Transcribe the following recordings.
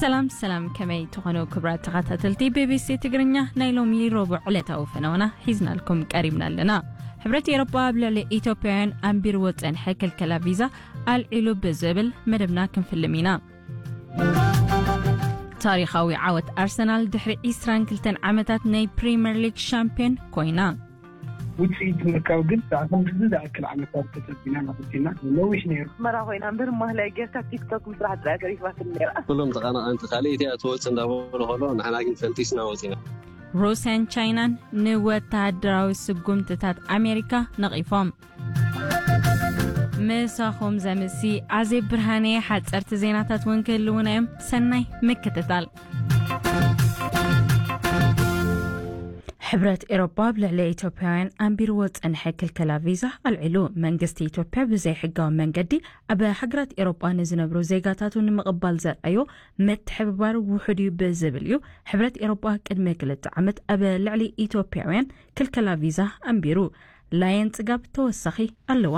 ሰላም ሰላም፣ ከመይ ትኾኑ ክቡራት ተኸታተልቲ ቢቢሲ ትግርኛ? ናይ ሎሚ ረቡዕ ዕለታዊ ፈነወና ሒዝናልኩም ቀሪብና ኣለና። ሕብረት ኤሮጳ ኣብ ልዕሊ ኢትዮጵያውያን ኣንቢርዎ ዝጸንሐ ክልከላ ቪዛ ኣልዒሉ ብዝብል መደብና ክንፍልም ኢና። ታሪኻዊ ዓወት ኣርሰናል፣ ድሕሪ ዕስራን ክልተን ዓመታት ናይ ፕሪምየር ሊግ ሻምፒዮን ኮይና። ውፅኢት ምርካብ ግን ብኣኹም ክንዲ ዝኣክል ዓመታት ተፀቢና ናፍቂና ነዊሕ ነይሩ። ኣስመራ ኮይና እምበር ማህላይ ጌርካ ቲክቶክ ምስራሕ ጥራይ ተሪፋትኒ ነይራ። ኩሎም ተቐናቐንቲ ካልእ እቲኣ ትወጽእ እንዳበሉ ከሎ ንሕና ግን ፈንጢስና ወጺና። ሩስያን ቻይናን ንወተሃደራዊ ስጉምትታት ኣሜሪካ ነቒፎም። ምሳኹም ዘምሲ ኣዜብ ብርሃነ። ሓጸርቲ ዜናታት እውን ክህልውና እዮም። ሰናይ ምክትታል። ሕብረት ኤሮጳ ኣብ ልዕሊ ኢትዮጵያውያን ኣንቢርዎ ዝጸንሐ ክልከላ ቪዛ ኣልዒሉ። መንግስቲ ኢትዮጵያ ብዘይሕጋዊ መንገዲ ኣብ ሃገራት ኤሮጳ ንዝነብሩ ዜጋታቱ ንምቕባል ዘርኣዮ ምትሕብባር ውሑድ እዩ ብዝብል እዩ ሕብረት ኤሮጳ ቅድሚ ክልተ ዓመት ኣብ ልዕሊ ኢትዮጵያውያን ክልከላ ቪዛ ኣንቢሩ። ላየን ጽጋብ ተወሳኺ ኣለዋ።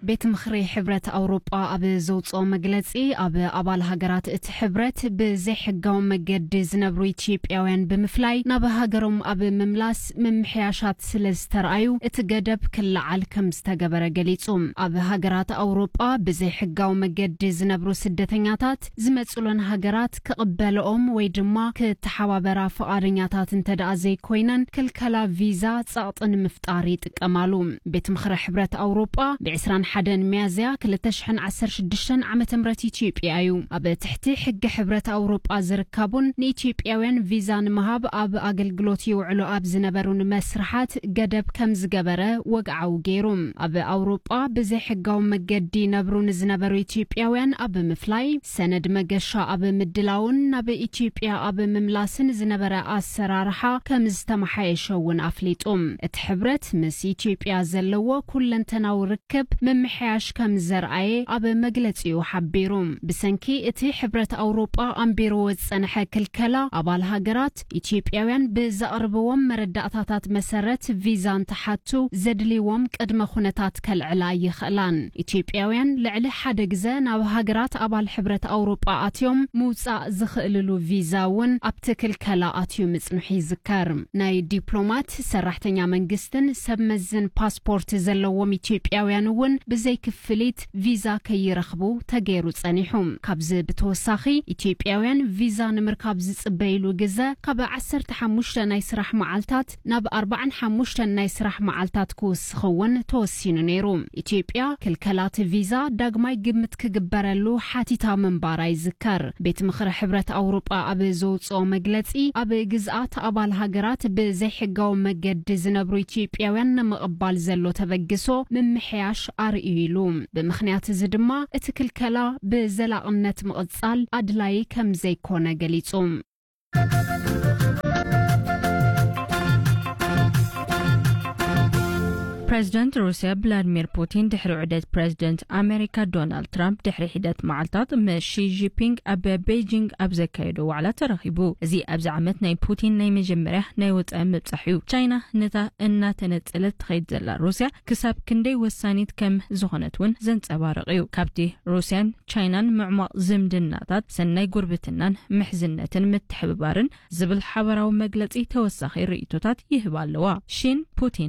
ቤት ምኽሪ ሕብረት ኣውሮጳ ኣብ ዘውፅኦ መግለፂ፣ ኣብ ኣባል ሃገራት እቲ ሕብረት ብዘይሕጋዊ መገዲ ዝነብሩ ኢትዮጵያውያን ብምፍላይ ናብ ሃገሮም ኣብ ምምላስ ምምሕያሻት ስለ ዝተረኣዩ እቲ ገደብ ክለዓል ከም ዝተገበረ ገሊፁ። ኣብ ሃገራት ኣውሮጳ ብዘይሕጋዊ መገዲ ዝነብሩ ስደተኛታት ዝመፅሎን ሃገራት ክቕበልኦም ወይ ድማ ክተሓባበራ ፍቓደኛታት እንተ ደኣ ዘይኮይነን፣ ክልከላ ቪዛ ጸቕጢ ንምፍጣር ይጥቀማሉ። ቤት ምኽሪ ሕብረት ኣውሮጳ ብ ዕስራን ሓደን ሚያዝያ ክልተ ሽሕን ዓሰርተ ሽዱሽተን ዓመተ ምህረት ኢትዮጵያ እዩ ኣብ ትሕቲ ሕጊ ሕብረት ኣውሮጳ ዝርከቡን ንኢትዮጵያውያን ቪዛ ንምሃብ ኣብ ኣገልግሎት ይውዕሉ ኣብ ዝነበሩን መስርሓት ገደብ ከም ዝገበረ ወግዓዊ ገይሩ። ኣብ ኣውሮጳ ብዘይሕጋዊ መገዲ ይነብሩ ንዝነበሩ ኢትዮጵያውያን ኣብ ምፍላይ፣ ሰነድ መገሻ ኣብ ምድላውን ናብ ኢትዮጵያ ኣብ ምምላስን ዝነበረ ኣሰራርሓ ከም ዝተመሓየሸ እውን ኣፍሊጡ። እቲ ሕብረት ምስ ኢትዮጵያ ዘለዎ ኩለንተናዊ ርክብ ምምሕያሽ ከም ዘርኣየ ኣብ መግለጺኡ ሓቢሩ። ብሰንኪ እቲ ሕብረት ኣውሮጳ ኣንቢርዎ ዝጸንሐ ክልከላ፣ ኣባል ሃገራት ኢትዮጵያውያን ብዘቕርብዎም መረዳእታታት መሰረት ቪዛ እንትሓቱ ዘድልይዎም ቅድመ ኩነታት ከልዕላ ይኽእላን። ኢትዮጵያውያን ልዕሊ ሓደ ግዘ ናብ ሃገራት ኣባል ሕብረት ኣውሮጳ ኣትዮም ምውጻእ ዝኽእልሉ ቪዛ እውን ኣብቲ ክልከላ ኣትዩ ምጽንሑ ይዝከር። ናይ ዲፕሎማት፣ ሰራሕተኛ መንግስትን ሰብ መዝን ፓስፖርት ዘለዎም ኢትዮጵያውያን እውን ብዘይክፍሊት ቪዛ ከይረኽቡ ተገይሩ ጸኒሑ። ካብዚ ብተወሳኺ ኢትዮጵያውያን ቪዛ ንምርካብ ዝጽበይሉ ግዘ ካብ ዓሰርተ ሓሙሽተ ናይ ስራሕ መዓልታት ናብ ኣርባዓን ሓሙሽተን ናይ ስራሕ መዓልታት ክውስኽ እውን ተወሲኑ ነይሩ። ኢትዮጵያ ክልከላት ቪዛ ዳግማይ ግምት ክግበረሉ ሓቲታ ምንባራ ይዝከር። ቤት ምኽሪ ሕብረት ኣውሮጳ ኣብ ዘውፅኦ መግለፂ፣ ኣብ ግዝኣት ኣባል ሃገራት ብዘይሕጋዊ መገዲ ዝነብሩ ኢትዮጵያውያን ንምቕባል ዘሎ ተበግሶ ምምሕያሽ ኣርእዩ ኢሉ። ብምኽንያት እዚ ድማ እቲ ክልከላ ብዘላቕነት ምቕጻል ኣድላዪ ከም ዘይኮነ ገሊጹ። ፕሬዚደንት ሩስያ ቭላድሚር ፑቲን ድሕሪ ዑደት ፕሬዚደንት ኣሜሪካ ዶናልድ ትራምፕ ድሕሪ ሒደት መዓልታት ምስ ሺ ጂንፒንግ ኣብ ቤጂንግ ኣብ ዘካየዶ ዋዕላ ተራኺቡ። እዚ ኣብዚ ዓመት ናይ ፑቲን ናይ መጀመርያ ናይ ወጻኢ ምብጻሕ እዩ። ቻይና ነታ እናተነጸለት ትኸይድ ዘላ ሩስያ ክሳብ ክንደይ ወሳኒት ከም ዝኾነት እውን ዘንጸባርቕ እዩ። ካብቲ ሩስያን ቻይናን ምዕሟቕ ዝምድናታት፣ ሰናይ ጉርብትናን ምሕዝነትን ምትሕብባርን ዝብል ሓበራዊ መግለጺ ተወሳኺ ርእይቶታት ይህባ ኣለዋ። ሺን ፑቲን